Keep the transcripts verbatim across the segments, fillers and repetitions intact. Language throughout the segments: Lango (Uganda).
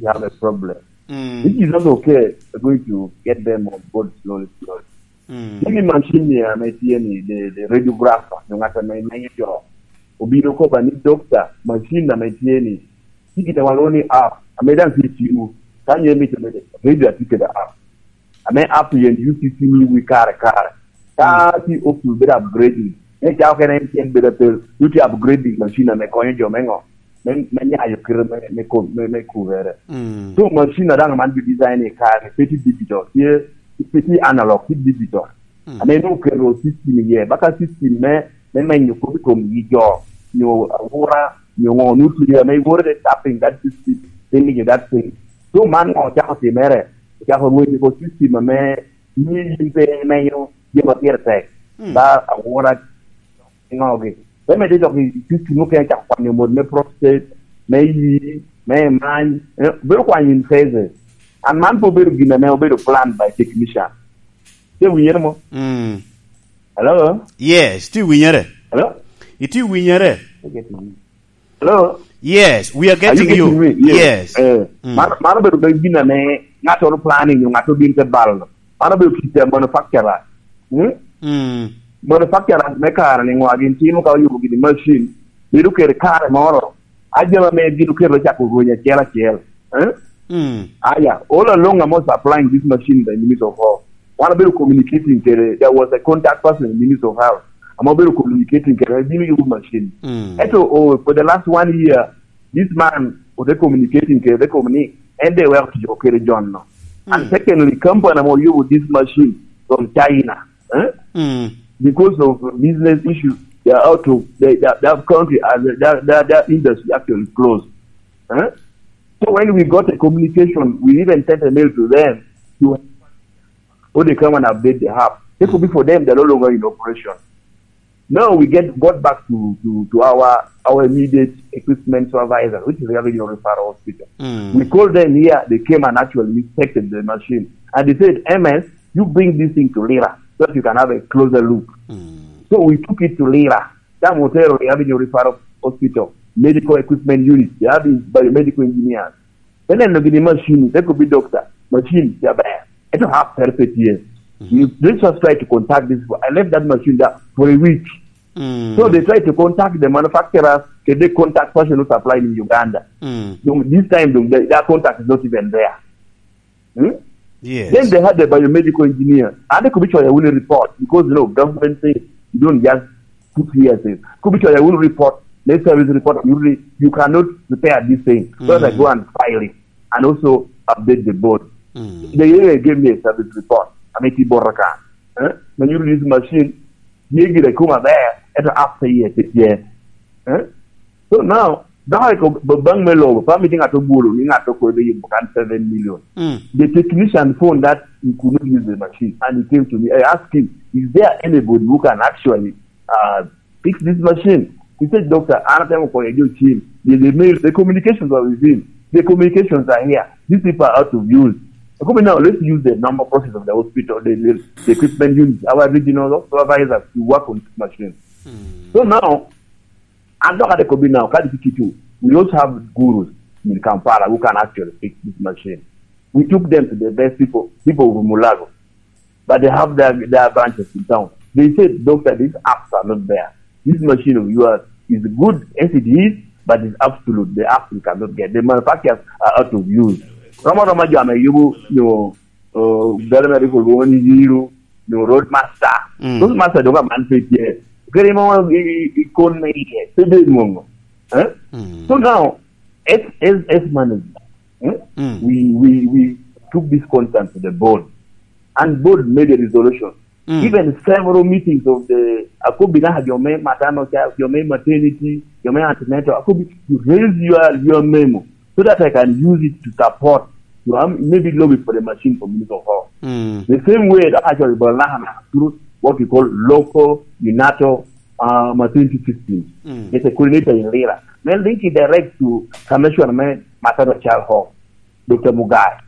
you have a problem. Mm. If it's not okay, we're going to get them on board slowly, slowly. Mm. Give me machine here, ame tye ni, the, the radiographer, yung ata may, may jo. Obino ko ba ni, "Doctor, machine ame tye ni, tye gin a walwongo ni app, ame daŋ tye i cimu. Ka nyo imito mede, radio atye kede app. Ame app yen yuto i cimu wi kare kare. Ka tye option bedo upgrading, me cako kene en tyen bedo ape, yuto upgrading machine ame konyo jo me ŋo? Me, me nyayo kite me, me kom-, me, me kubere." Mm. So machine a daŋ man bi design i kare, pe tye digital, tye, pe tye analog, tye digital. Mm. Ame nwoŋo oketo system iye, baka system me, me menyo kop i kom yi jo, nyo awura, nyo ŋo, nwoŋo tye ame iworo the tapping that system, then you that thing. So man ŋo ocako timere? Ocako rwenyo ko system ame mio yin pe imenyo jami a pire tek, mm, ba awura ŋogi. Te medde dok i system mukene cako kwanyo mot me prostate, me yi, me many, eh, bedo kwanyo in phases. And man pe obedo gin ame obedo plan by technician. Te winyere mo? Mm. Hello? Yes, ti winyere. Hello? Iti winyere. Hello? Yes, we are getting you. Are you getting me? Yes. Yes. Eh, mm, man, man obedo me gin ame ŋattoro planning, ŋattoro gin te balo. Man obedo kit a manufacturer. Hmm? Mm. Manufacturer me kare ni ŋwa gin timo ka oyubo gini machine, bedo kede kare moro. Ajama me gin oketo cako rweny acel acel. Eh? Mm. Aya, all along I'm also applying this machine that Minister of Health. Wan abedo communicating kede, there was a contact person in Minister of Health. Ame obedo communicating kede, bino yubo machine. Mm. Eto, oh, for the last one year, this man, ote communicating kede, ote kobo ni, en de weko tic kede John no. And mm, secondly, company ame oyubo this machine from China, eh? Mm. Because of business issues, they are out of, they, they, their country, uh, their, their, their industry actually closed. Eh? So when we got a communication, we even sent a mail to them to, oh, they come and update the app. It could be for them, they're no longer in operation. Now we get got back to, to, to our, our immediate equipment supervisor, which is the Regional Referral Hospital. Mm. We called them here, they came and actually inspected the machine. And they said, "M S, you bring this thing to Lira so that you can have a closer look." Mm. So we took it to Lira. That Motero Avenue Referral Hospital, medical equipment unit, they have these biomedical engineers. Then I look at the machine, that could be doctor, machine, yeah, bad. It will have therapy here. Mm-hmm. You, they just try to contact this. I left that machine there for a week. Mm. So they try to contact the manufacturers, the contact person who supply in Uganda. Mm. This time, the, their contact is not even there. Hmm? Yes. Then they had the biomedical engineer. And they could be sure I will report because, you know, government things, you don't just put here things. Could be sure I will report, let's service report, you, re- you cannot repair this thing. So mm, I go and file it and also update the board. Mm. They even gave me a service report. I mean, Boraka. Eh? When you use machine, ye gire kuma there, at after year, year. Eh? So now, dok eko baŋ me lobo, pa miti ŋat obwolo ni ŋat okodo yubo kan seven million. Mm. The technician found that he could not use the machine, and he came to me. I asked him, "Is there anybody who can actually, uh, fix this machine?" He said, "Doctor, an atemo konyo jo cim. The, the mail, the communications are with him. The communications are here. These people are out of use." I come now, let's use the normal process of the hospital, the, the, the equipment units, our regional supervisors to work on this machine. Mm. So now, and look at the Kobe now, Kadi Kikitu. We also have gurus in Kampala who can actually fix this machine. We took them to the best people, people of Mulago. But they have their, their branches in town. They said, "Doctor, these apps are not there. This machine of yours is good as it is, but it's absolute. The apps we cannot get. The manufacturers are out of use." Roma Roma Jama, you know, uh, Belmari for Roman Zero, you know, Roadmaster. Mm. Roadmaster don't have man fit yet. Very more, i kon me yet. So they know. Eh? Mm. So now, as, as, as management, eh? Mm. We, we, we took this concern to the board, and board made a resolution. Mm. Even several meetings of the, I could be now your main maternal child, your main maternity, your main antenatal. I could be, you raise your, your memo so that I can use it to support. You know, maybe lobby for the machine for Minister of Health. Mm. The same way that actually Balanahan through what we call local UNATO, uh, maternity system. Mm. It's a coordinator in Lira. Then link it direct to Commissioner Maternal Child Health, Doctor Mugai.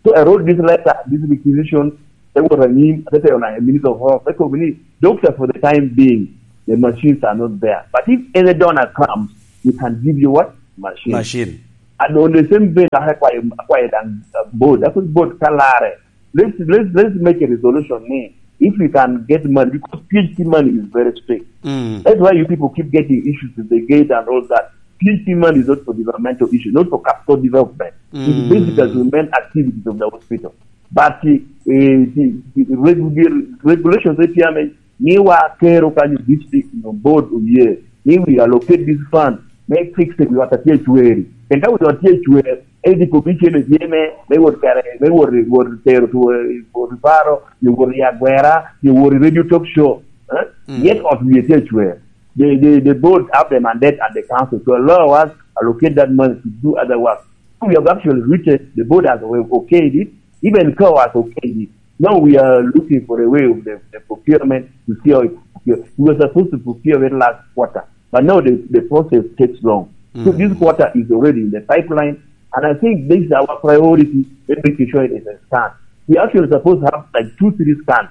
So I wrote this letter, this requisition, they were a name, they say, "Oh, Minister of Health, they could be doctor for the time being, the machines are not there. But if any donor comes, we can give you what? Machine." Machine. And on the same vein, I acquire, acquire than uh, board. That was board Kalare. Let's, let's, let's make a resolution. Ni, if we can get money, because P H D money is very strict. Mm. That's why you people keep getting issues with the gate and all that. P H D money is not for developmental issues, not for capital development. It's basically to main activities of the hospital. But uh, the, the regu- regulations A P M ni wa kero kanyo district no board oye ni we allocate this fund, make fix it with what appear to vary. And that with what appear to vary, any commission is here, me, me what kare, me what, what tero to, uh, what faro, you what ya gwera, you what radio talk show. Eh? Yet of we appear to vary. The, the, the board have the mandate at the council to allow us allocate that money to do other work. We have actually written, the board has okayed it, even COA has okayed it. Now we are looking for a way of the, the procurement to see how it procure. We were supposed to procure it last quarter, but now the, the process takes long. So this quarter is already in the pipeline, and I think this is our priority in making sure it is a scan. We actually supposed to have like two, three scans.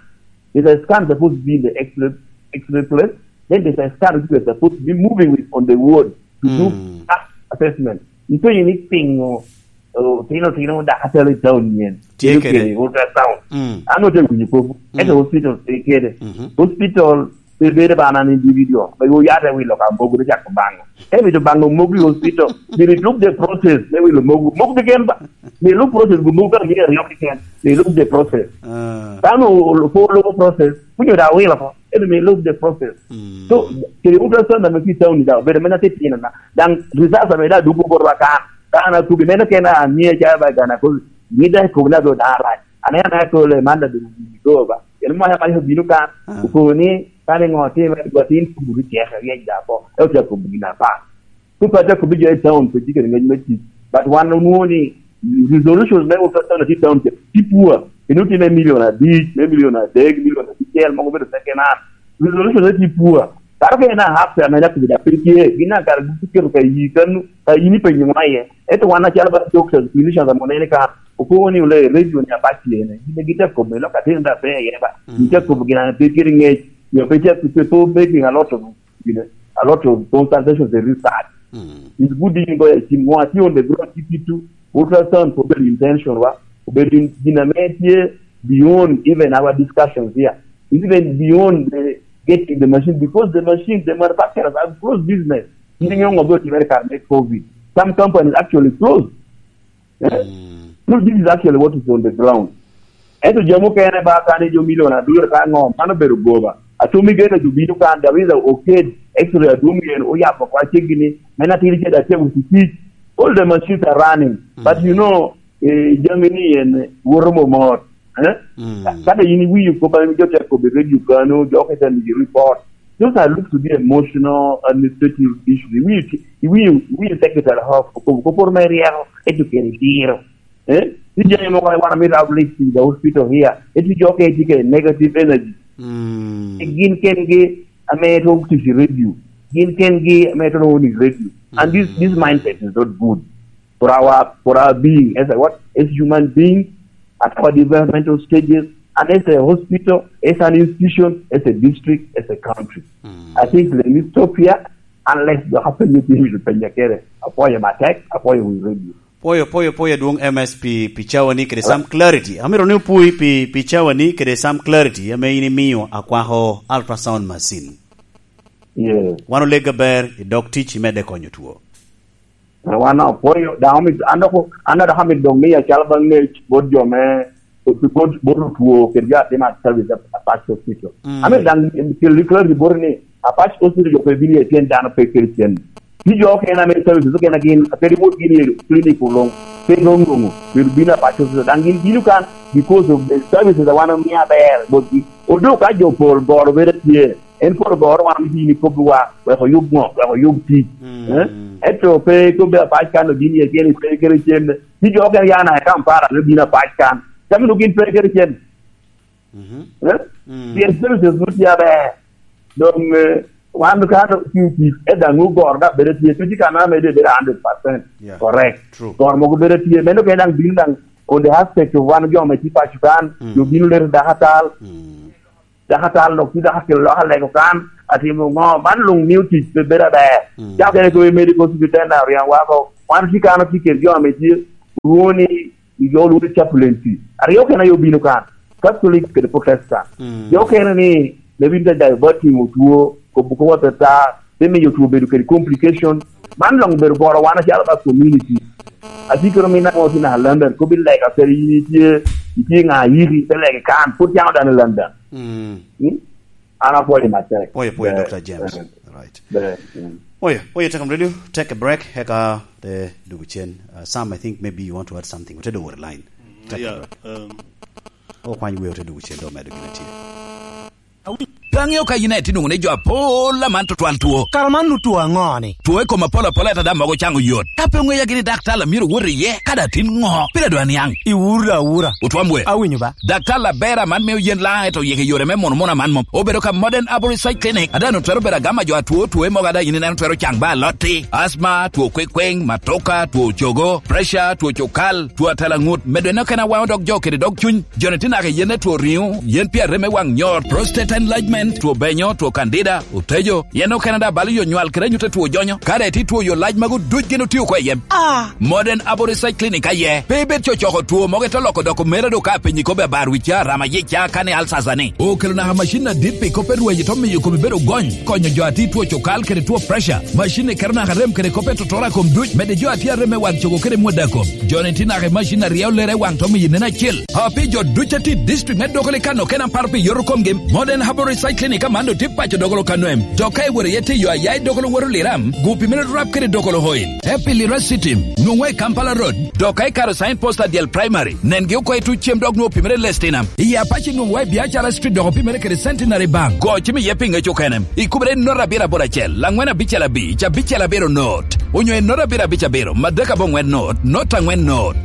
There's a scan supposed to be in the X-ray, X-ray place. Then there's a scan which we're supposed to be moving with on the ward to do assessment. Ito yini pingo, oh, tino tino da katelo i town yen. Tye kede ultrasound. Ano te winyo popo. Ento hospital tye kede. Hospital pe bede ba an individual. Ba yo yate wilo ka mogo de chako bango. Emi to bango mogo i hospital. They look the process. They will mogo. Mogo de gen ba. They look process go mogo ka ngi aryo kiken. They look the process. Tano po logo process. Kunyo da wilo ko. Emi me look the process. So kede ultrasound na me ki town da. Bede mena te pina na. Dan results ame da dugo borwa kan. Kana kubi mena kena anie cha ba gana ko. Ni da ko na do da right. Ane ane ko le manda do go ba. Ene mo ya ka bino kan. Ko ni kane ŋo ti me go tin kubi keka ye da ko. E cha kubi na pa. Ku pa te kubi je town pe jike ngeny me ti. But wan onwo ni resolutions me ultrasound ti town ti pua. Inu ti me million adi, me million adi, million adi kel mo bedo second hand. Resolution ti pua. Kara ke na hap sa me na kubi da pe tie. Gina kar guketo ka yi kanu, ka yi ni pe nyuma ye. Eto wan acalo ba doctors, clinicians amo nene ka. Okobo ni ole radio ni apac yene. Gine gite kobe lo ka tin da pe ye ba. Gite kobe gina pe kiri ngej. Yo pe che pe to making a lot of, you know, a lot of consultations and research. It's good that you go and see more. See on the ground, see people. Ultrasound for very intention, wa. For very gina me tie beyond even our discussions here. It's even beyond the getting the machine, because the machines, the manufacturers have closed business. You know about America make COVID. Some companies actually closed. Eh? So this is actually what is on the ground. Ento jo mukene ba kani jo milion adwero ka ŋo, mano bedo goba. Atumi gene jo bino kan, there is a oked, X-ray adwong yen, oyabo kwa cegini, men atiri cede atye with tic. All the machines are running. But you know, eh, jami ni yen woto momot. Eh? Ka- Kata yin iwinyo kop an jo te kobe radio kano, jo ke te miji report. Those are look to be emotional, administrative issues. Iwinyo, iwinyo, iwinyo secretary of kopo, kopo me rieko, educate diro. Eh? Ni jami mo kwa wana mi rab list in the hospital here. Eti jo ke eti ke negative energy. Gin ken gi ame to to radio. Gin ken gi ame to ni radio. And this, this mindset is not good for our, for our being as a what? As human beings, at our developmental stages, and as a hospital, as an institution, as a district, as a country. I think let me stop here, unless the happen to be with Penyakere. Apoya Matek, Apoya with Radio. Poyo, poyo, poyo, Adwong M S P, pi cawani kede some clarity. Amito ni opwoi pi, pi cawani kede some clarity ame in imiyo akwako ultrasound machine. Yes. Wan olega ber, idok tic, imedde konyo two. Wan opwoyo, daŋ omito, an dok, an dok amito dok miya cal ba ŋec bot jo me, bot, bot otwo kede jo atima service a, a Apac Hospital. Ame daŋ kel clarity bot ni Apac Hospital jo pe bino iye pien dano pe kede cen. Ti jo okene ame services okene gin, pe reward gin i clinic oloŋ, pe roŋ roŋo, pero bino Apac Hospital. Daŋ gin bino kan because of the services a wan omiyo aber botgi. Odok ka jo pol goro bedo tye, en pol goro wan omiyo ni kobbiwa, wek oyub ŋo, wek oyub tic. Eh? Ento pe kobbi Apac kan obin iye pien pe kede cen. Ti jo okene ya na i Kampala, me bino Apac kan. Cam nu gin pe kede cen. Eh? Pien services nu tye aber. Dong, eh, wan ka to tic, eh, daŋ ogoro da bedo tye, pe tye kan ame de bedo hundred percent. Yeah. Correct. True. Goro mogo bedo tye, meno kene daŋ bino daŋ on the aspect of wan jo me tye paco kan, jo bino leto dakatal. Dakatal dok tye dakakel lok alego kan, atimo ŋo, man luŋ mio tic pe bedo aber. Ca okene ko i medical superintendent oriaŋ wako, Wan tye kan otye kede jo ame tye, rwoni i jo lwod chaplaincy. Aryo kena yo bino kan, Catholic kede Protestant. Mm. Jo kene ni, ne bino te dayo bot timo two, kobo kop atata, te miyo two bedo kede complication. Man dong bedo goro wan acalo ba community. Atye kede min amo tye naka London, kobi lega kede in itye, itye ŋa yiki, te legi kan, pwod cano dano i London. Mm. Mm? An apwoyo matek. Pwoyo, pwoyo, Ber. Doctor James. Ber. Right. Ber. Mm. Pwoyo, pwoyo, take a radio, take a break, eka te dugu cen. Uh, Sam, I think maybe you want to add something. Ote dogo line. Take a Yeah, break. Um, Okwany wiye ote dugu cen, do medo gin atye. Pe aŋeo ka yin aye tye nwoŋo ni jo apol aman tutwal two. Kara man nu two aŋo ni? Two i kom apol apol ata daŋ mogo caŋo yot. Ka pe oŋeya gini daktar a myero owot iye, kadi atin ŋo? Pire dwa niaŋ. Iwuro awura. Otwam we. Awinyo ba. Daktar aber aman mio yen laŋ eto yeke yore me mono mono aman mom. Obedo ka Modern Arborist Side Clinic. Ada no twero bedo agama jo atwo two mogo ada yin ineno twero caŋ ba alotti. Asma, two kwekweng, matoka, two cogo, pressure, two cukal, two atalaŋut. Medo eno kena waŋo dog jo kede dog cuny. Joni tye naka i yen etwo riŋo, yen pi arem me waŋ nyot, prostate enlargement, two benyo, two candida, otejo, yen okene daŋ balo yo nywal kede anyut etwo jonyo. Kare tye two yo lac magu duc gin otio oko i yem. Ah! Modern Abo Research Clinic aye. Pe ibed cocoko two mogo ito loko doko mere do ka apenyi kobe abar wi ca, rama yic ca, kane alsasa ni. Okelo naka macin adit pi kop erweny ito miyo komi bedo gony, konyo jo ati two cokal kede two pressure. Macin ikero naka rem kede kop etotoro a kom duc, mede jo ati arem me waŋ cogo kede mwada kom. Joni tye naka i macin aryo lere waŋ to miyo nen acel. A pi jo duc a tye i district me Dokolo i kano kena paro pi yoto komgi, Modern Herbal Research Clinic aman doŋ tye paco Dokolo kano em. Dok ka iworo iye tiyo aya i Dokolo woro Liram, gu pi mere rap kede Dokolo Oil. Happy Lira City, nwoŋo i Kampala Road. Dok ka ikaro sign post adyel primary, nengi oko i tuc cem dok nwoŋo pi mere Lestina. I Apache nwoŋo wa i Biacara Street dok pi mere kede Centenary Bank. Go cim iye pi ŋec okene. Ikubere i note abiro aboro acel, angwen abicel abic, abicel abiro note. Onyo i note abiro abic abiro, madek aboŋwen note, note angwen note.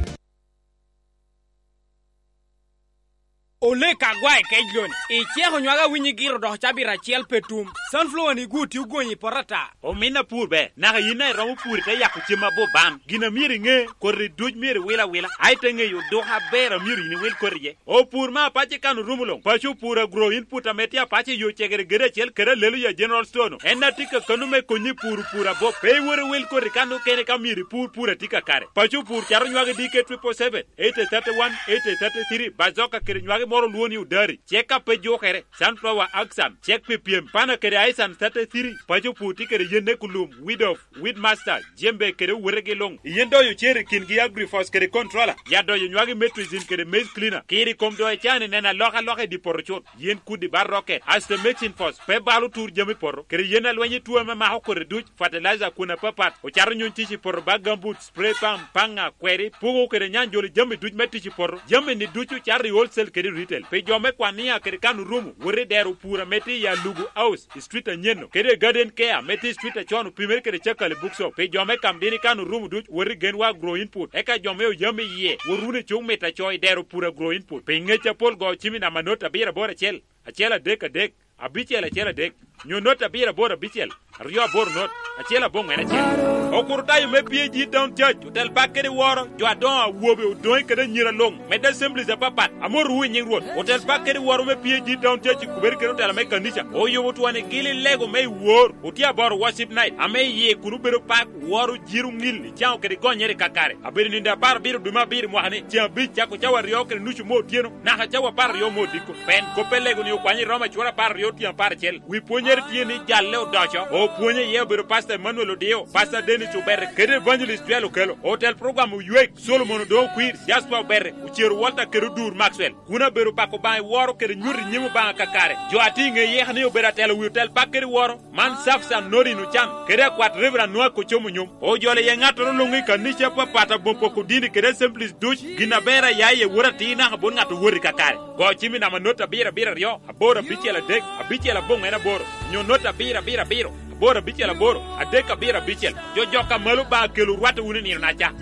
Olek agwa i kec loni. Iceko nywag awinyi giro dok cabit acel pe tum. Sunflower ni gu tye ogonyi i poto ata. Omin apur ber, naka yin a iromo pur ite yako cem abup bam. Gin a myero iŋe, koti duc myero iwil awila, a ite ŋeyo odoko aber a myero yin iwil koti iye. Opur me apac i kan orumo luŋ. Paco opur agro input ame tye apac i yo cegere gede acel kede alelo ya General Store-nu. En a tye ka kano me konyi puro pur abop. Pe iwot iwil koti kan okene ka myero ipur pur a tye kakare. Paco opur cato nywagi D K triple seven, eighty thirty-one, eighty thirty-three, bazoka kede nywagi moro olwongo ni odari. Cek a pe jukere, sunflower axan, cek pi pyem, pana kede aisan thirty-three, paco opur tye kede yen ne kulum, weed off, weed master, jembe kede owetegi luŋ. Yen doyo cer i kingi agrifos kede controller, ya doyo nywagi metricin kede maize cleaner, kiri kom doyo cani neno alokaloka i di poto cut. Yen kudi ba rocket, asto mixing force, pe balo tur jami poto, kede yen alweny i tuo ame mako kodi duc, fertilizer kun apapat, ocato nyuŋ tic i poto ba gambut, spray pump, paŋa, kweri, pugo kede nyanjoli jami duc me tic i poto. Jami ni ducu cato i wholesale kede retail. Pi jo me Kwania kede Kanurumu, wot i dero pur ame tye i Alugu House, i street Anyeno, kede Garden Care ame tye i street Acon opimere kede Cakali Bookshop. Pi jo me Kamdini Kanurumu duc, wot i Genwa Agro Input. Eka jo me Oyam iye, wot wunu i Cuk Mita Coy dero pur Agro Input. Pi ŋec apol go cim i namba not abiro aboro acel, acel adek adek, abicel acel adek, nyo not abiro aboro abicel, aryo aboro not, acel aboŋwen acel. Okurutayo me P A G Town Church, otel bak kede woro, jo adoŋo awobe, odoŋe kede anyira luŋ, medde assemblies apapat, ame oruwo i nyiŋ Rwot. Otel bak kede woro me P A G Town Church i kubere kede otela me kanica, oyubo twon i gili lego me i wor, otye aboro worship night, ame iye kun obedo pak, woro, jiro, ŋil, icaŋo kede gonyere i kakare. Abedo nindo apar abiro dwe me abiro mwaka ni, ceŋ abic cako cawa aryo kede nucu me otyeno, naka cawa apar aryo me odiko. Pen kop pe lego ni okwanyo i Roma cura apar aryo tyen apar acel. Wi pwonyere tye ni jalle odoco. Opwonye iye obedo Pastor Emmanuel Odio, Pastor Dennis Obere, kede Evangelist Joel Okello. Otel program Oywek, Solomon Odongo Kwir, Jasper Obere, Ocero Walter kede Odur Maxwell. Kun abedo pako Obaŋa i woro kede nyuto i nyim Obaŋa kakare. Jo a tye i ŋe yeka ni obedo atelo wi otel bak kede woro, man Safsan Norin Ocan, kede akwat Reverend Noah Kocomo Nyom. Ojolo iye ŋattoro luŋ i kanica apapat aboŋ poko dini kede assemblies duc, gin aber a ya iye wot atir naka bot ŋat owot i kakare. Go cim i namba not abiro abiro aryo, aboro abicel adek, abicel aboŋwen aboro, nyo not abiro abiro abiro, aboro abicel aboro, adek abiro abicel. Jo jok a malo Obaŋa kelo rwatte wunu i nino na ca.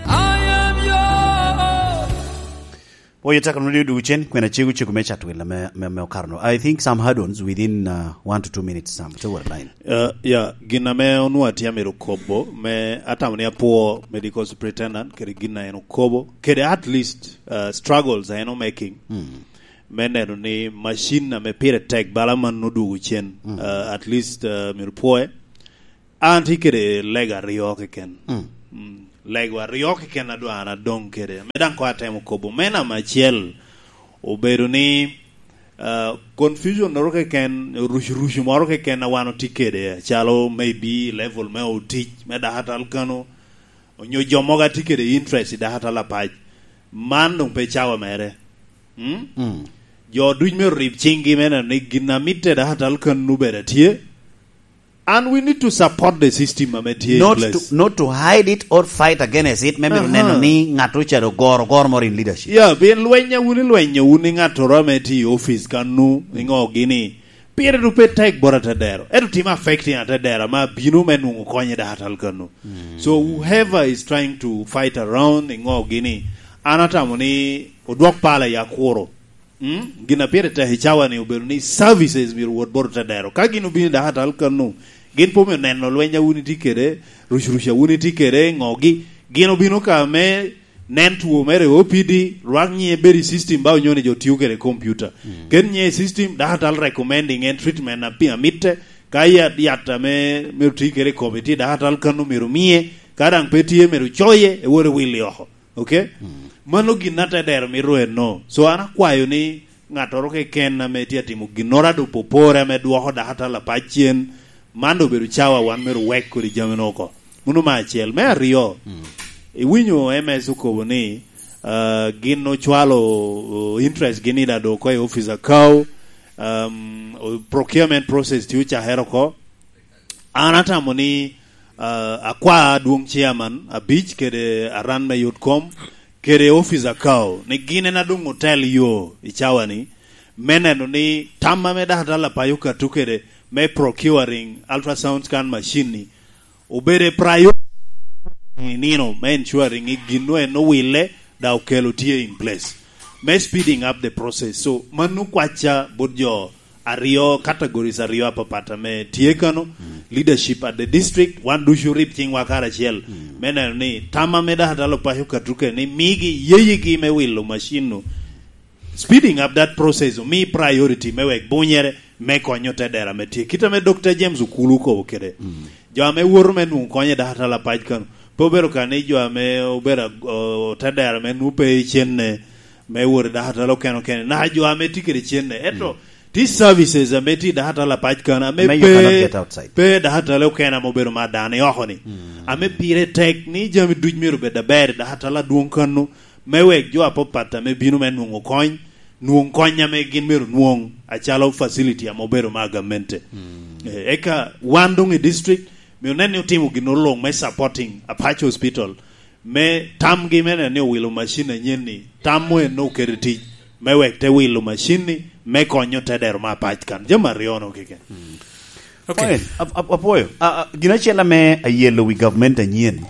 Oye, teko no dio dugu cen, kwena cego cego me chat willa me, me, me okaro no. I think some add-ons within, uh, one to two minutes, Sam. Te wot line. Uh, yeah, gin ame onwa tye amito kobo, me atamo ni apwo Medical Superintendent, kede gin a en okobo, kede at least, uh, struggles a en o making. Mm. Me neno ni machine ame pire tek bala man odugu cen. Mm. Uh, at least, uh, myero pwoe. An tye kede lega aryo keken. Mm. Mm. Lego aryo keken adwar adong kede. Me daŋ ko atemo kobo. Me namba acel, obedo ni, ah, confusion moro keken, rucu-rucu moro keken a wan otye kede, calo maybe level me otic me dakatal kano, onyo jo mogo atye kede interest i dakatal apac. Man doŋ pe cawa mere. Mm? Mm. Jo duc me rib ciŋgi me neno ni gin a mitte dakatal kano bedo atye. And we need to support the system ame tye in Not place. to, not to hide it or fight against it, me mito Aha. neno ni ŋat ocalo goro, goro moro in leadership. Yeah, pien lweny a wun ilwenyo wun i ŋattoro ame tye i office kanu, iŋo gini, pire du pe tek bot atedero. Ento tim affecting atedero ame abino me nwoŋo kony i dakatal kanu. So whoever is trying to fight around, iŋo gini, an atamo ni odwok pala i akuro. Mm? Gin a pire tek i cawa ni obedo ni services myero wot bot otedero. Ka gin obino i dakatal kanu, gin pe omio neno lweny a wun itye kede, rucuruc a wun itye kede, ŋogi, gin obino ka me nen two mere i O P D, rwak nyiŋe bedo i system ba onyo ni jo tio kede computer. Mm. Ket nyiŋe i system, dakatal recommending en treatment a pi-, a mitte, ka yat, yat ame myero ti kede i kome tye i dakatal kanu myero mie, ka daŋ pe tye myero coye, ewot ewil i oko. Okay? Mm. Mano gin a te dero mito eno. So an akwayo ni ŋattoro keken ame tye atimo ginnoro a doŋ popore ame dwoko dakatal apac cen, man doŋ obedo cawa wan myero wek kodi jamino oko. Mano me acel. Me aryo, Mm. iwinyo M S okobo ni, ah, gin ocwalo, oh, interest gini da doŋ oko i office akaw, um, o-, procurement process tye ocakere oko. An atamo ni, ah, akwa adwoŋ chairman abic kede aran me yot kom kede office akaw ni gin en adoŋ otel yo i cawa ni me neno ni tam ame dakatal apac okato kede me procuring ultrasound scan machine ni obedo priority i nino me ensuring ni gin en owille da okelo tye in place me speeding up the process. So mano kwacca bot jo aryo, categories aryo apapat ame tye kano, Mm. leadership at the district, wan ducu rib ciŋwa karacel, Mm. me neno ni tam ame dakatal apac okato kede ni migi yeyigi me wilo machine-nu, speeding up that process, omi priority me wek bunyere me konyo te dera ame tye. Kit ame Doctor James Okulu okobo kede, Mm. jo ame woto me nwoŋo konyo i dakatal apac kano, pe obedo ka ni jo ame obedo ag-, o-, te dera ame nwoŋo pe i cenne, me wot i dakatal okene okene, naka jo ame tye kede cenne. Ento, Mm. tye services ame tye i dakatal apac kano, ame Ame you cannot pe, get outside. pe dakatal okene ame obedo mar dano i oko ni. Mm. Ame pire tek ni jami duc myero bed aber i dakatal adwoŋ kano, me wek jo apapat ame bino me nwoŋo kony, nwoŋ kony ame gin myero nwoŋ, acalo facility ame obedo mar gamente. Mm. Eh, eka wan doŋ i district, myero nen ni otimo gin oluŋ me supporting Apac Hospital, me tamgi me neno ni owilo macin anyen ni, tam mo en oketo i tic, me wek te wilo macin ni, me konyo te dero me Apac kan. Jami aryo no keken. Mm. Okay. Fine. Ap-, ap-, apwoyo. A, a, gin acel ame ayelo wi government anyen,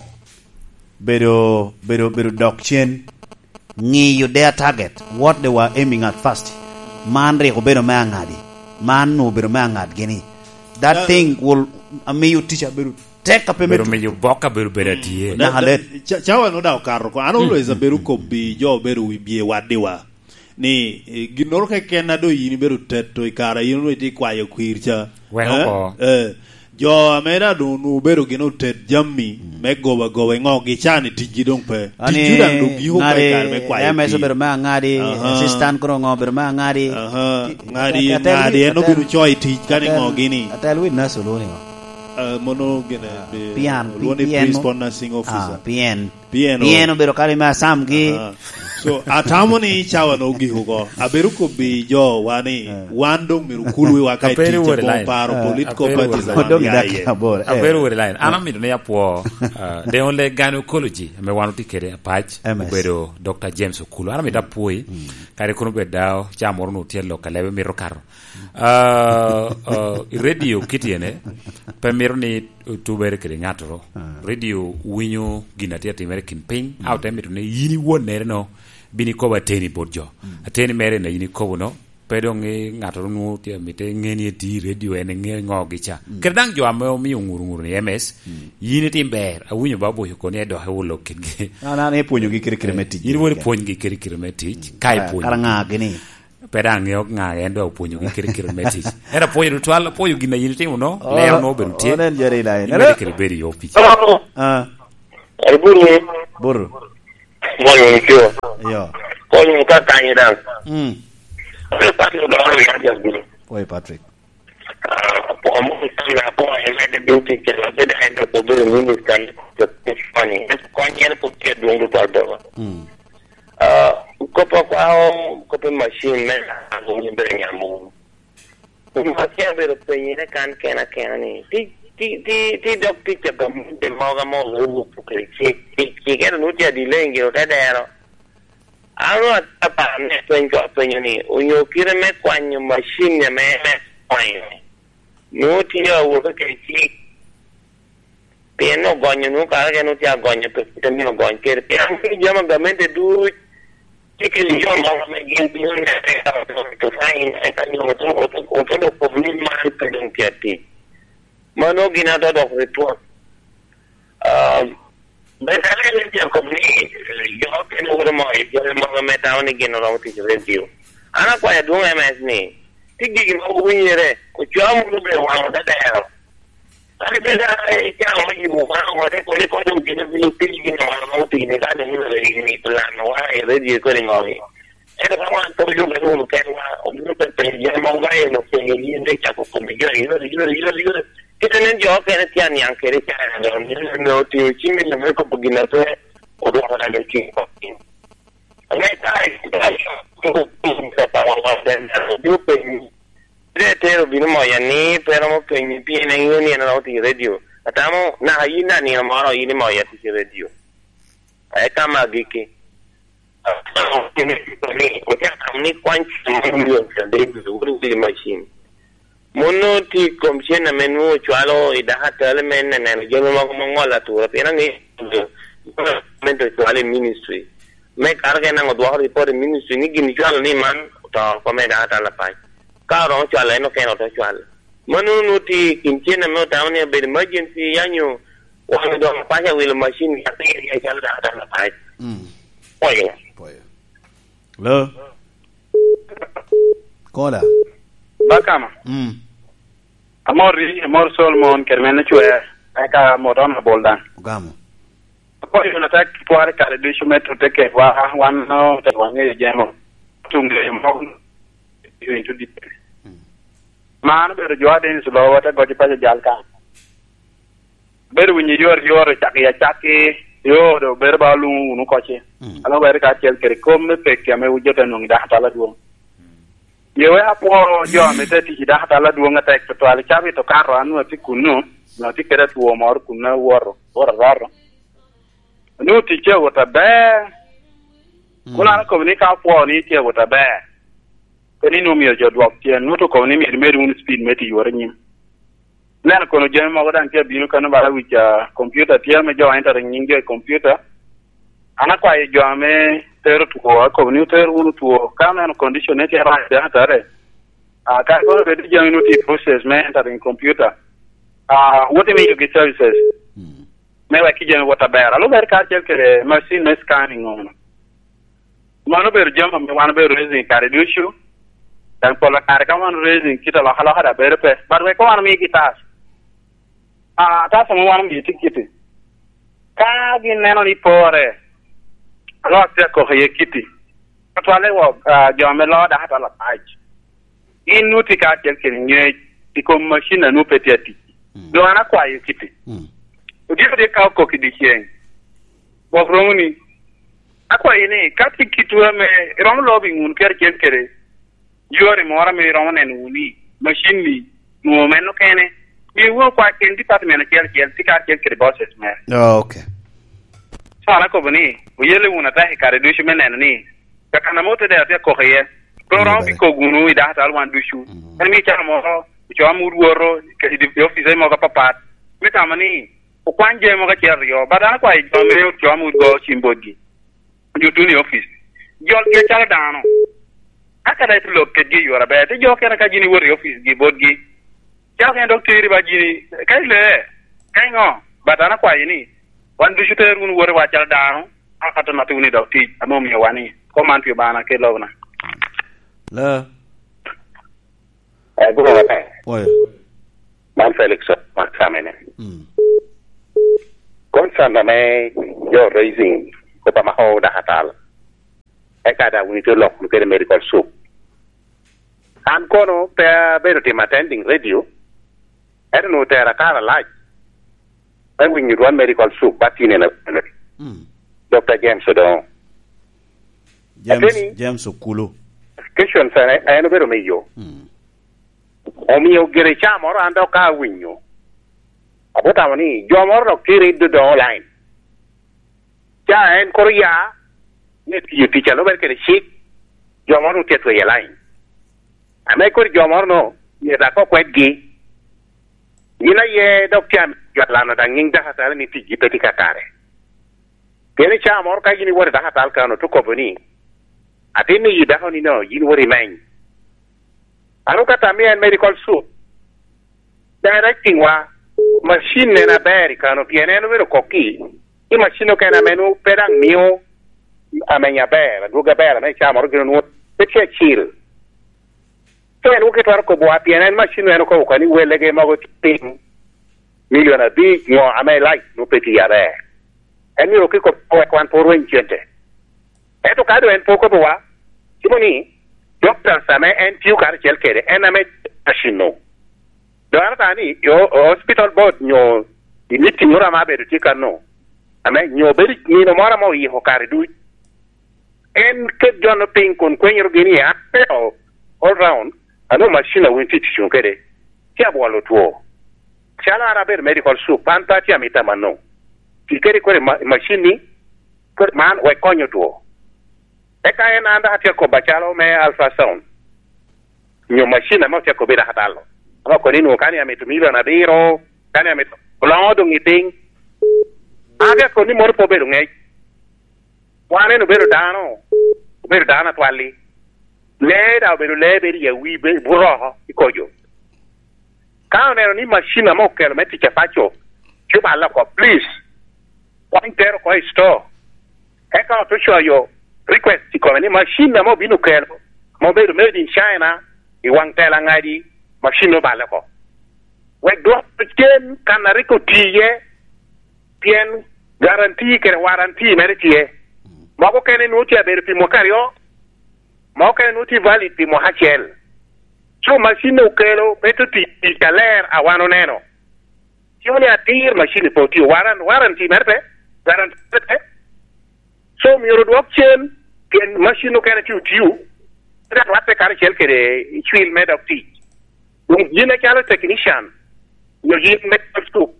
bedo, bedo, bedo dok cen, ŋiyo their target, what they were aiming at first. Man rik obedo me aŋadi. Man nu obedo me aŋadgi ni. That Da- thing will, amiyo tic abedo tek a pe me Bedo tu- miyo bok abedo bedo atye. Da-, Naka da-, let. ca-, cawa no da okato oko. An always abedo kobbi jo obedo wi bye waddiwa. Ni, eh, ginnoro keken a doŋ yin ibedo teto i kare a yin onwoŋo itye kwayo kwir ca. Wek Eh? oko. Eh, jo ame da doŋ onwoŋo obedo gin otet jammi me goba goba i ŋogi ca ni ticgi doŋ pe. Ani Ticgi daŋ doŋ giko oko i kare me kwayo M S kwir. obedo me aŋadi, Aha. assistant kono ŋo obedo me aŋadi. Aha. Ki-, Ŋadi, atel ŋadi, wit-, en atel, obino coyo i tic ka ni atel, ŋo gini. Atel witness oluni ŋo? Eh, mono gine, Ah, be, P N, olwongo ni P N mo? Principal Nursing Officer. Ah, P N. P N O. P N obedo kare me asamgi. Aha. So, atamo ni cawa no ogik oko. Abedo kobbi jo wa ni, Eh. wan doŋ myero okul wiwa ka i Aperi tic, wore line. Paro Eh. Political Aperi parties wore wan line. Odong ya dakika iye. aboro. Eh. Aperi wore line. An amito ni apwo, ah, the only gynecology ame wan otye kede Apac M S. obedo Doctor James Okulu. An amito apwoyi, Mm. kare kono bed dawo, ca moro nu tye lok a lebe mito kato. Ah, ah, i radio kit ene, pe mito ni otubere kede ŋattoro. Ah. Radio winyo gin a tye atimere kin piny, Mm. a ote mito ni yin iwonnere no, bin ikobo ateni bot jo. Mm. Ateni mere na yin ikobo no, pe doŋ i ŋattoro nwoŋo tye amite ŋe ni eti i radio en ŋe ŋo gica. Mm. Kede daŋ jo ame omio ŋuru ŋuru ni M S, Mm. yin itim ber, awinyo ba boyo koni edok ewolo kitgi. An, an ipwonyogi kite kite me tic. Yin woni pwonygi kite kite me tic, ka Ah, ipwonyogi. Kara ŋa gini? Pe daŋ ŋeo ŋa en dok opwonyogi kite kite me tic. Ento apwoyo tutwal, apwoyo gin a yin itimo no, Oh, leo no obedo tye. Oh, nen jari lai. Imedde kede bedo i opic. Ah. Ai, buru. Buru. Moyo ni jo. Yo. Konyo ka kanyo dan. Mm. Ore pati odoro ya ja buru. Oi, Patrick. Ah, po mo kan na po e me de bin ti ke la be da en ko be minister ni ko ko ni. Ko ni en ko ke dum do do. Mm. Ah, ko pa kwa ko pe machine me na ko ni be nyamu. Akia bedo penyere kan kena kena ni, ti, ti, ti, ti dok tic a gamente mogo ame owuok kede cik, cik, cik, ento nwoŋo tye adileng gire te dero. An ru aparo ni apeny ko apenyo ni, onyo kite me kwanyo macin ame me kwanyo, nwoŋo tye awobe kede cik. Pien ogonyo nwoŋo kare kene otye agonyo pe kite myero ogony kede. Pien an kede jami a gamente duc tye kede jo mogo ame gin bino nene ka oto to sain eka nyo oto oto oto dok kobo ni man pe dong tye atic. Mano gin ato dok report. Ah, Betale ni tye kobo ni jo kene wuro mo i jami mogo ame tamo ni gin oromo tic i redio. An akwayo adwoŋ M S ni, tye gigi mogo winyere, ocwao munu bedo waŋo dadero. Kadi bed a icano me yubo wan oko, te kodi kodi obino bino piny gin wan ma otini ka dong ibino i plan wa i radio kodi ŋogi. Ento ka wan pe oyubbe wunu kenwa, obino pe penyo jami mogo ka en openyo yin te cako kome joni, yore, yore, yore, yore. Kite nen jo okene tye aniaŋ kede i caa dong, ni ame otingo cim i lame kobo gin ape, odwoko dano i cim kok piny. Ame ka i, ka i, ka i, ka i, ka i, obino penyi. Ite tero bino moya ni pe romo penyi pien en ŋeo ni en romo tic i radio. Atamo naka yin daŋ nino moro yin imoya tic i radio. Eka me agikki. Ocako tamo ni kwany cen mo milion pyeraryo, wot i wili macin. Mon nwoŋo tye i kom cen ame nwoŋo ocwalo i dako atali me neneno jami mogo ma oŋolo atura, pien aŋeyo gamente ocwalo i ministry. Me kato ka en daŋ odwoko report i ministry ni gin icwalo ni man oto oko me dako atali apac. Ka oromo cwalo en okene ote cwalo. Mannono nwoŋo tye i kin cen ame otamo ni abedo emergency, ya nyo wan doŋ paco awilo macin, ya piri, ya calo dako atali apac. Mm. Pwoyo. Pwoyo. Hello? Kola. Bakama. Mm. Amor ri, amor Solomon, kede mene cwer, eka amor Honorable daŋ. Ogamo. Apoyo na tek tware kare ducu me tute kedwa, wan no, tek waŋeyo jemo. Tuŋ leyo mogo, into detail. Mm. Man obedo jo a Dennis Lowa, te goc i paco jal ka. Bedo winyo yor, yor, cak i acakki, yo, do bedo ba oluŋo wunu koci. Mm. Alo weri ka acel kede kom me pekki ame wun jo te nwoŋo i dako atala dwoŋ. Mm. Ye we apwoo jo ame te tic i dako atala dwoŋ atek tutwal, i cabit okato an nwoŋo atye kunnu, nwoŋo atye kede atwo moro kunnu awoto, woto aroto. Nwoŋo ticce awot aber. Mm. Kun an akobo ni ka apwoo ni tye awot aber, pe ni nwoŋo myero jo dwok cen, nwoŋo to kobo ni myero imed wunu speed me tic wot i nyim. Neno kono jami mogo daŋ tye abino kano bala wic, ah, computer tye ame jo entering nying jo i computer. An akwayo jo ame tero two, akobo ni oter wunu two. Ka oneno condition ne tye rac, dano atare. Ah, ka kono bedo jami nwoŋo tye i process me entering computer. Ah, wot imiyogi services. Mm. Me wek ki jami wot aber. Alubere karacel kede machine me scanning ono. Mano obedo jami ame wan obedo raising kare ducu. Daŋ pol kare ka wan raising kit alokaloka daŋ bedo pe. But wek wan omigi tas. Ah, tas ame wan omigi tye kiti. Ka gin neno ni pore, alok tye akoko iye kiti. Tutwalle wok, ah, jo ame loo dako atwal apac. Gin nwoŋo tye kacel kede ngec i kom macin a nwoŋo pe tye atic. Mm. Doŋ an akwayo kiti. Mm. Odyeko tye ka okok i dyeceŋ. Gwok romo ni, akwayo ni, ka tye kitwu ame iromo lobo i ŋun keracel kede yore moro ame iromo neno wunu ni macin-ni nwoŋo meno kene, mi wunu kwa ken department acel acel, tye kacel kede bosses mere. Oh, okay. So, an akobo ni, oyelle wunu atek i kare ducu me neno ni, kakana mo te dero tye akoko iye. Pe oromo bikok wunu i dakatal wan ducu. Mm. En miyo calo moro, ocoa mut woto i di-, i ofice mogo apapat. Me tamo ni, okwany jami mogo acel aryo. But an akwayo jo me ocoa mut go cim botgi. Onyut wunu i ofice. Jolgi acalo dano. Aka daŋ ite lok kedgi i yore aber. Te jo okene ka gin iwoto i ofice gi botgi. Calo kene dok teri ba gini, ka ile, ka iŋo? But an akwayo ni, wan ducu ter wunu wote wa calo dano, aka to nati wunu i dog tic, ame omio wa ni, kom man pi Obaŋa kede lobna. La. Eh, guno maber. Oyo. Man Felix Makamene. Mm. Concern ame jo raising, kop amako dakatal, eka daŋ wun itye lok wunu kede medical soup. An kono pe abedo timo attending radio, ento onwoŋo otera kare alac me winyo dwan medical soup, ba tine na, Mm. Doctor James Odongo. James, Ateni, James Okulu. Questions en, en obedo miyo. Mm. Omio gire ca moro an dok ka awinyo, abotamo ni jo moro dok tye riddo doŋo line. Ca en koro ya, me tiyo tic a lubere kede cik, jo moro tye atweyo i line. Ame kodi jo moro no, myero dako kwedgi. Yin aye dok tye ame jo alano daŋ nyiŋ dakatal ni ticgi pe tye kakare. Pien i caa moro ka yin iwoto i dakatal kan, ote kobo ni, "Atin ni yi dako ni no, yin woto imeny." Aro ka tam en medical soup, directing wa, macin en aber i kano, pien en obedo kokki, i macin okene ame nwoŋo pe daŋ mio ameny aber, adwogi aber, ame i caa moro gin onwoŋo pe tye acil. So en woki twero kobo wa, pien en macin en okobo kani welle ge mogo piny milion abic ŋo ame light nwoŋo pe tiyo aber. En myero woki kobo wek wan pe orweny cente. Ento ka doŋ en pe okobo wa, cimo ni, doctors ame en tio karacel kede, en ame macin no. Doŋ an ata ni, i o-, hospital board nyo i meeting moro ame abedo tye kan no, ame nyo bedo i nino moro ame oyiko kare duc, en ket jo-nu piny kun kwenyorogi ni, "An pe o-, all round, anu macin a wun tye tic wunu kede, tye abwolo two." Calo an abedo medical soup, an pe atye amito amanno. Ti kede kore ma-, macin-ni, kore man wek kony otwo. Eka en an dok atye akobo acalo me ultrasound, nyo macin ame otye akobo i dakatal-lo. Ame okoni nwoŋo kani amito milion abiro, kani amito, oloŋo doŋ i piny. An atye akoni moro pe obedo ŋec. Wan en obedo dano, obedo dano atwalli. Lee daŋ obedo lee, bedo i awi, be-, buroko i kojo. Ka oneno ni macin ame okelo me tic apaco, cuba aloko, please, kwany tero oko i store. Eka ote coyo request i kome ni macin ame obino kelo, ame obedo made in China, i waŋ tela ŋadi, macin obale oko. Wek dwoko cen kan a rik oti iye, pien guarantee kede warranty mere tye. Mogo kene nwoŋo tye abedo pi mwaka aryo, mogo kene nwoŋo tye valid pi mwaka acel. So, macin okelo, pe to tic, tic aler a wan oneno. Cimo ni atir macin pe otio, waran-, warranty mere pe, guarantee mere pe. So, myero odwok cen, pien macin okene tye otio, pe dok rwatte karacel kede cwil me dok tic. Doŋ yin acalo technician, nyo yin me suk,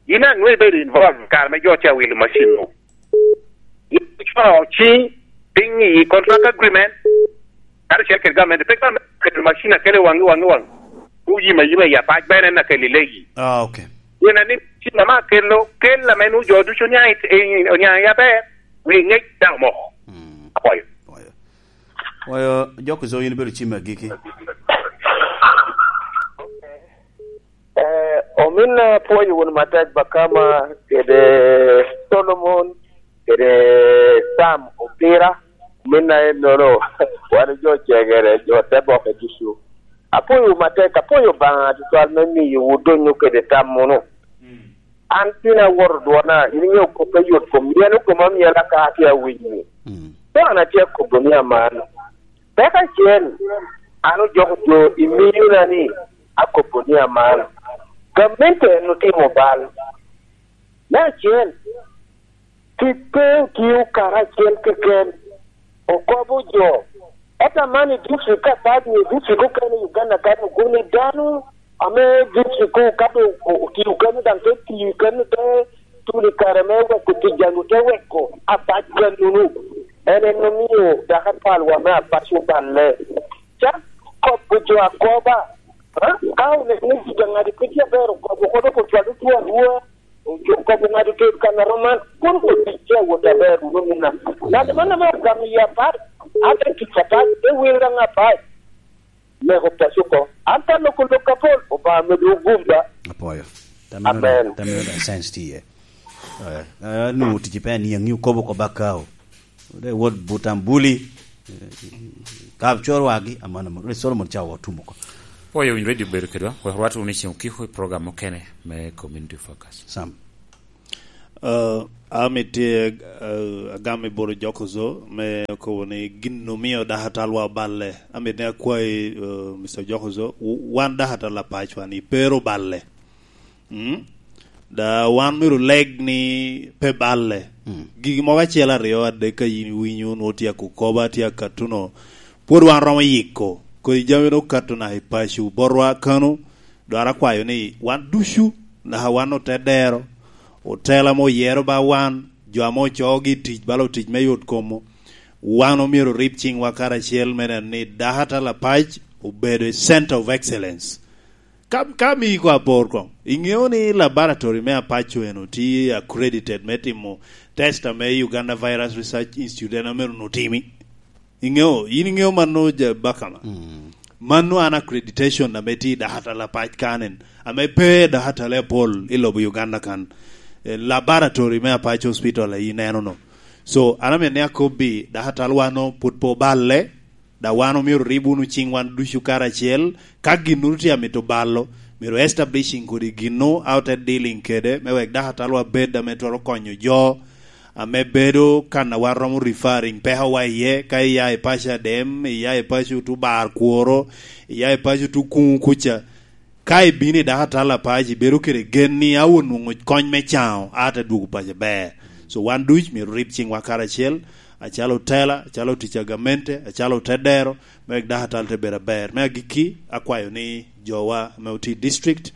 yin aŋo ibedo involved kare me jo tye awilo macin-nu? Yin icwao ciŋ piny i contract agreement, karacel kede gamente, pe gamente oketo macin akele waŋ i waŋ i waŋ, oyim ayima i apac, bene en akelo i legi. Ah, okay. Pien ni cim ame akelo, kel ame nwoŋo jo ducu oniaŋ i, i, oniaŋ i aber, wi ŋec daŋ omoko. Mm. Apwoyo. Apwoyo. Apwoyo, Jok Zo, yin ibedo cim agiki. Eh, ominna, apwoyo wunu matek, Bakama, kede Solomon, kede Sam Opira. Ominna ennono, wan jo cegere, jo te boke ducu. Apwoyowu matek, apwoyo Obaŋa tutwal me miyowu donyo kede tam munu. Mm. An tin awoto dwona, in iŋeo kop me yot kom, myelo koma myela ka atye awinyi. Mm. Pe an atye akobo ni aman. Peko acel, an ojoko jo i miyona ni akobo ni aman. Gamente en otimo bal. Me acel, kite otio karacel keken, okobo jo. Ento aman i district apac nyo i district okene i Uganda kan ogunni dano ame district ka doŋ o-, otio keno daŋ te tiyo keno te tuno i kare me weko tic daŋ te weko apac kenono. En en omio dako apalwa me apac oballe. Cak kobo jo akoba, ha? Ka oneno ni tic aŋadi pe tye aber, okobo kono kun cwalo two arua. Okobo ŋado tet kan a roman, kun otic tye awot aber wunu mina. Ŋat man ame ogamo yie apac, ate tic apac, te wil daŋ apac. Meko paco oko. An ka loko lok apol, Obaŋa medo ogum ba. Apwoyo. Tamino da, Amen. Tamino da sense tye iye. Eh, eh, nwoŋo tic pe aniaŋ, ni okobo oko bakao. Ode wot Butambuli, eh, kap cor wagi, amano mo. Ode Solomon ca otumo oko. Apwoyo winy radio bedo kedwa. Wek rwat wunu i ceng okiko i program mukene me Community Focus. Sam. Uh, amito, uh, agam i bot Jokozo me kobo ni gin omio dakatalwa oballe. Amito ni akwayi, uh, Mister Jokozo, w-, wan dakatal apacwa ni pe ru balle. Mm? Da wan myero oleg ni pe balle. Mm. Gigi mogo acel, aryo, adek ka yin iwinyo, nwoŋo tye ako koba, tye akatuno. Pwod wan romo yiko. Kodi jami no okato naka i paco. Botwa kano, dwaro akwayo ni wan ducu, naka wan ote dero, otela ame oyero ba wan, jo ame ocoogi i tic, bala otic me yot komo, wan omyero orib ciŋwa karacel me neno ni dakatal apac obedo i Center of Excellence. Ka, ka mii ko apor koŋ, iŋeo ni laboratory me apaco eno tye accredited me timo test ame Uganda Virus Research Institute en ame onwoŋo otimi? Iŋeo, yin iŋeo mano, ja Bakama? Mm. Mano an accreditation ame tye i dakatal apac kanen, ame pe dakatal apol i lobo Uganda kan. Eh, laboratory me Apac Hospital a ineno no. So, an amito ni akobbi, dakatal wan no pwod pe oballe, da wan omyero orib wunu ciŋ wan ducu karacel, ka ginnoro tye amito balo, myero establishing kodi ginnu, a ote dealing kede, me wek dakatalwa bed ame twero konyo jo, ame bedo kan a wan romo referring pekowa iye, ka iya i paco Adem, iya i paco Tubar Kworo, iya i paco Tukuŋu kuca. Ka ibino i dakatal apac, ibedo kede gen ni a onwoŋo kony me caŋo, a te dwogo paco ber. So wan duc myero rib ciŋwa karacel, acalo otela, acalo tic a gamente, acalo otedero, me wek dakatal te bedo aber. Me agikki, akwayo ni jowa ame otye i district,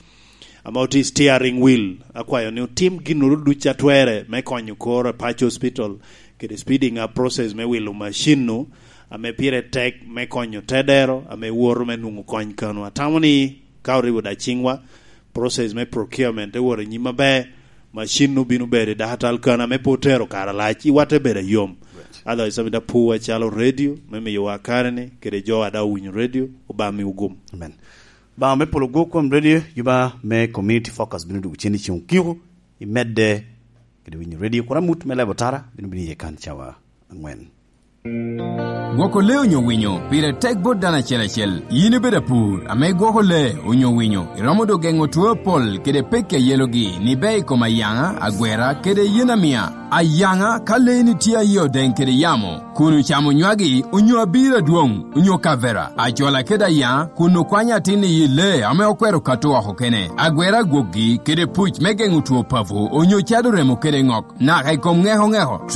ame otye i steering wheel, akwayo ni otim ginnoro duc a twere me konyo kor Apac Hospital, kede speeding up process me wilo macin-nu, ame pire tek me konyo tedero, ame woto me nwoŋo kony kano. Atamo ni ka oribo da ciŋwa, process me procurement te wot i nyim aber, macin-nu bino bedo i dakatal kano ame pe otero kare alac, iwa te bedo ayom. Right. Otherwise, amito apu acalo radio, me miyowa kare-ni, kede jo a daŋ owinyo radio, Obaŋa miwu gum. Amen. Obaŋa me polo gwo kwom radio, juba me Community Focus bino dwogo cen i ceŋ okiko, i medde kede winyo radio. Kura mut me lebo tara bino bino iye kan cawa aŋwen. Gwoko lee onyo winyo pire tek bot dano acel acel. Yin ibedo apur ame igwoko lee onyo winyo, iromo doŋ geŋo two apol kede pekki a yelogi ni ber i kom ayaŋa, agwera, kede yen amia. Ayaŋa, ka lee-ni tye a yie odeŋ kede yamo, kun ocamo nywagi onyo abiro adwoŋ onyo kavera, acola kede ayaŋa, kun okwanyo atin i yi lee ame okwero kato oko kene, agwera gwokgi kede puc me geŋo two papo onyo cado remo kede ŋok, naka i kom ŋeko ŋeko,